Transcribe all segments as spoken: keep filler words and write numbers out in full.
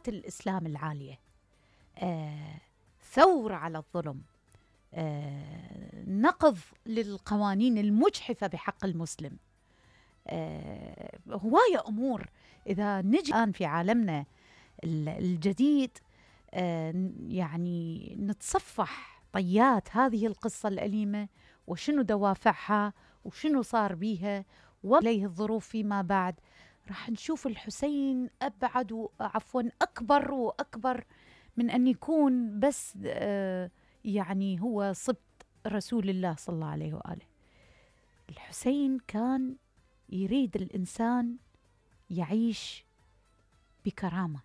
قيمات الإسلام العالية، آه ثورة على الظلم، آه نقض للقوانين المجحفة بحق المسلم. آه هواية أمور. إذا نجي الآن في عالمنا الجديد آه يعني نتصفح طيات هذه القصة الأليمة، وشنو دوافعها وشنو صار بيها وليه الظروف فيما بعد، راح نشوف الحسين أبعد وعفوا أكبر وأكبر من أن يكون بس آه يعني هو صبت رسول الله صلى الله عليه وآله. الحسين كان يريد الإنسان يعيش بكرامة،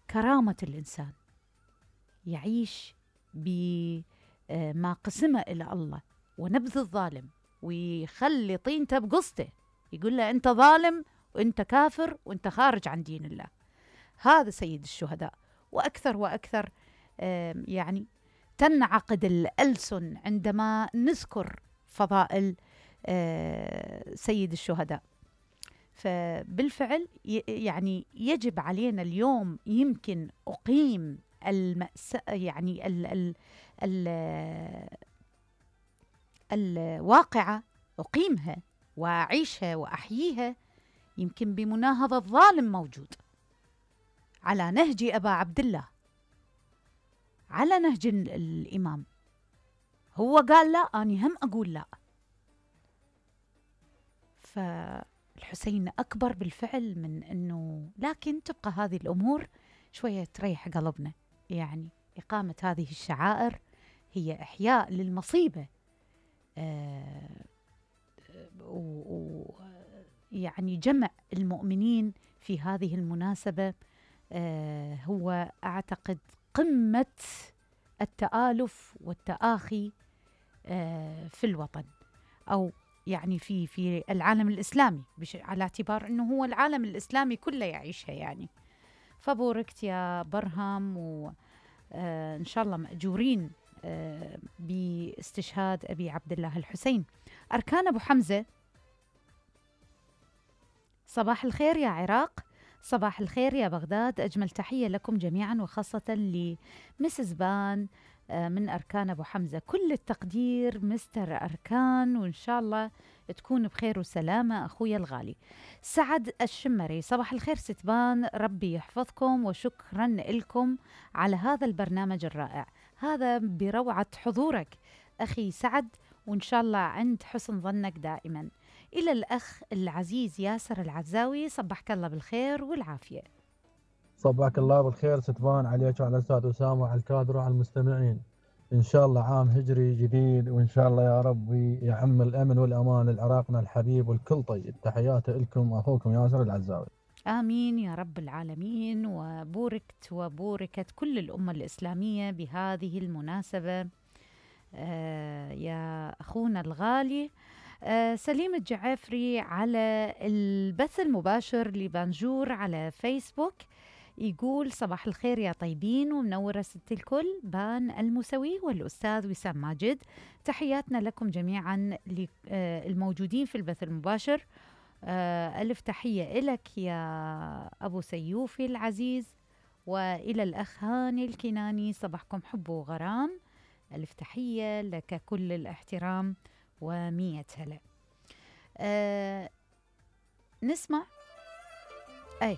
كرامة الإنسان، يعيش بما قسمه إلى الله ونبذ الظالم، ويخلي طينته بقصته، يقول له أنت ظالم وأنت كافر وأنت خارج عن دين الله. هذا سيد الشهداء. وأكثر وأكثر يعني تنعقد الألسن عندما نذكر فضائل سيد الشهداء. فبالفعل يعني يجب علينا اليوم يمكن أقيم المأساة، يعني ال ال ال الواقعة أقيمها وأعيشها وأحييها يمكن بمناهضة ظالم موجود على نهج أبا عبد الله، على نهج الإمام. هو قال لا، أنا هم أقول لا. فالحسين أكبر بالفعل من أنه، لكن تبقى هذه الأمور شوية تريح قلبنا. يعني إقامة هذه الشعائر هي إحياء للمصيبة، آه ويعني جمع المؤمنين في هذه المناسبة آه هو أعتقد قمة التآلف والتآخي آه في الوطن، أو يعني في في العالم الإسلامي، على اعتبار أنه هو العالم الإسلامي كله يعيشها يعني. فبوركت يا برهم، وإن شاء الله مأجورين آه باستشهاد أبي عبد الله الحسين. أركان أبو حمزة، صباح الخير يا عراق، صباح الخير يا بغداد، أجمل تحية لكم جميعا، وخاصة لمسز بان من أركان أبو حمزة. كل التقدير مستر أركان، وإن شاء الله تكون بخير وسلامة أخويا الغالي. سعد الشمري، صباح الخير ستبان، ربي يحفظكم، وشكرا لكم على هذا البرنامج الرائع. هذا بروعة حضورك أخي سعد، وإن شاء الله عند حسن ظنك دائما. إلى الأخ العزيز ياسر العزاوي، صبحك الله بالخير والعافية. صبحك الله بالخير ستبان، عليك وعلى الأستاذ أسامة وعلى الكادر وعلى المستمعين. إن شاء الله عام هجري جديد، وإن شاء الله يا رب يعم الأمن والأمان لعراقنا الحبيب والكل طيب. تحياتي لكم أخوكم ياسر العزاوي. آمين يا رب العالمين، وبوركت وبوركت كل الأمة الإسلامية بهذه المناسبة. آه يا أخونا الغالي آه سليم الجعافري على البث المباشر لبانجور على فيسبوك يقول صباح الخير يا طيبين، ومنورة ست الكل بان الموسوي والأستاذ وسام ماجد. تحياتنا لكم جميعا الموجودين في البث المباشر. آه ألف تحية إلك يا أبو سيوفي العزيز، وإلى الأخ هاني الكناني، صباحكم حب وغرام. ألف تحية لك كل الاحترام ومية هلا. آه نسمع أي